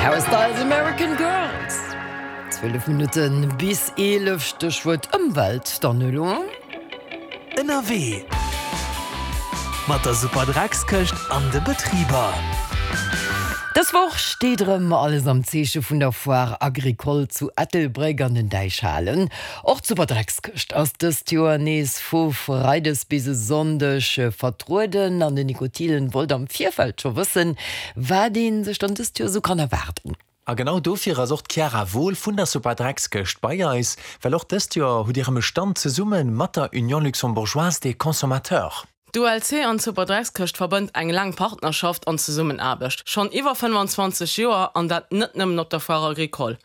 Harry Styles, American Girls. 12 Minutte bis 11, Stéchwuert Ëmwelt dann elo. Ënnerwee mat der Superdreckskëscht an de Betriber. Dës Woch steet erëm alles am Zeeche vun der Foire Agricole zu Ettelbréck an den Däichhalen. Och d'Superdreckskëscht ass dëst Joer nees vu Freides bis e Sonndeg vertrueden an den Nico Thielen wollt am Virfeld scho wëssen, wat ee sech dann dëst Joer esou kann erwaarden. A genau dofir ass och d'Chiara Wohl vun der Superdreckskëscht bei eis, well och dëst Joer hutt Dir erëm e Stand zesumme mat der Union Luxembourgeoise des Consommateurs. D'ULC an d'Superdreckskëscht verbënnt eng laang Partnerschaft an Zesummenaarbecht, schonn iwwer 25 Joer, an dat net nëmmen op der Foire Agricole.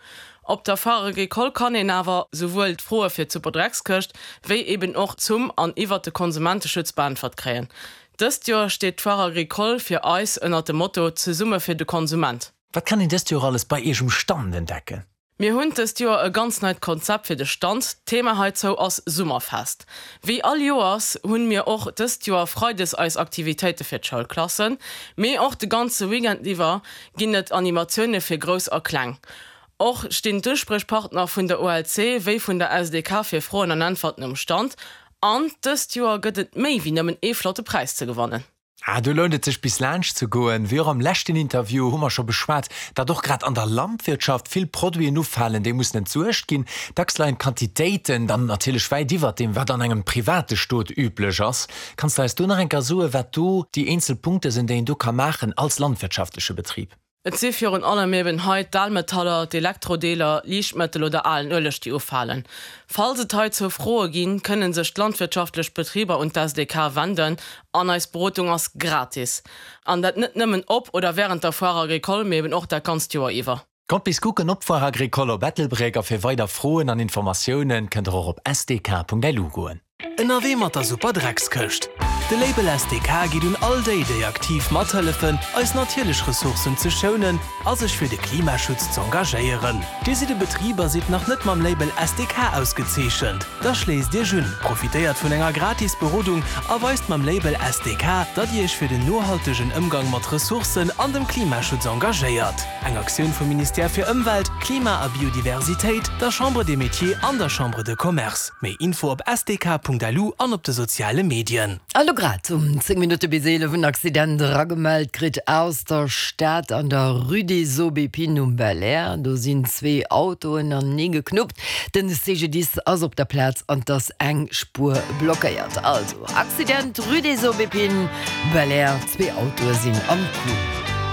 Op der Foire Agricole kann een awer souwuel d'Froe fir d'Superdreckskëscht, wéi eben och zum an iwwert de Konsumenteschutz beäntwert kréien. Dëst Joer steet d'Foire Agricole fir eis ënnert dem Motto Zesumme fir de Konsument. Wat kann een dëst Joer alles bei Iech um Stand entdecken? Mir hunn dëst Joer e ganz neit Konzept fir de Stand. D'Thema heizou ass Summerfest. Wéi all Joers hunn mir och dëst Joer Freides eis Aktivitéite fir d'Schoulklassen, mee och de ganze Weekend iwwer ginn et Animatioune fir Grouss a Kleng. Och stinn d'Uspriechpartner vun der OLC wéi vun der SDK fir Froen an Äntwerten um Stand. An dëst Joer gëtt et méi wéi nëmmen ee flotte Präis ze gewannen. Ah, do lount et sech bis laanscht ze goen. Wéi och am leschten Interview hu mer scho beschwat, datt och grad an der Landwirtschaft vill Produiten ufalen, déi mussen entsuergt ginn. Dacks leien d'Quantitéiten dann natierlech wäit iwwert deem, wat an engem private Stot üblech ass. Kanns de eis do nach eng Kéier soen, wat do déi eenzel Punkte sinn, déi een do ka maachen als landwirtschaftleche Betrib? Et si virun allem eben hei d'Almetaller, d'Elektrodeeler, Liichtmëttel oder alen Ueleg déi ufalen. Falls et heizou Froe ginn, kënnen sech d'landwirtschaftlech Betriber un d'SDK wenden an eis Berodung ass gratis. An dat net nëmmen op oder wärend der Foire Agricole, mee eben och dat ganzt Joer iwwer. Kommt bis kucken op d'Foire Agricole op Ettelbréck a fir weider Froen an Informatiounen kënnt der och op sdk.lu goen. Ënnerwee mat der Super Dreckskëscht. De Label SDK geet un all déi, déi aktiv mathëllefen, eis natierlech Ressourcen ze schounen a sech fir de Klimaschutz z'engagéieren. Dir sidd e Betrib a sidd nach net mam Label SDK ausgezeechent? Da schléisst Iech un, profitéiert vun enger gratis Berodung a weist mam Label SDK, datt Dir Iech fir den nohaltegen Ëmgang mat Ressourcen an dem Klimaschutz engagéiert. Eng Aktioun vum Ministère fir Ëmwelt, Klima a Biodiversitéit, der Chambre des Métiers an der Chambre de Commerce. Méi Info op sdk.lu an op de soziale Medien. A lo grad um 10 Minutte bis 11 en Accident eragemellt kritt aus der Stad an der Rue des Aubépines um Belair. Do sinn zwee Autoen anenee geknuppt. Den CGDIS ass op der Plaz an et ass eng Spuer blockéiert. Also Accident Rue des Aubépines, Belair, zwee Autoe sinn am Coup.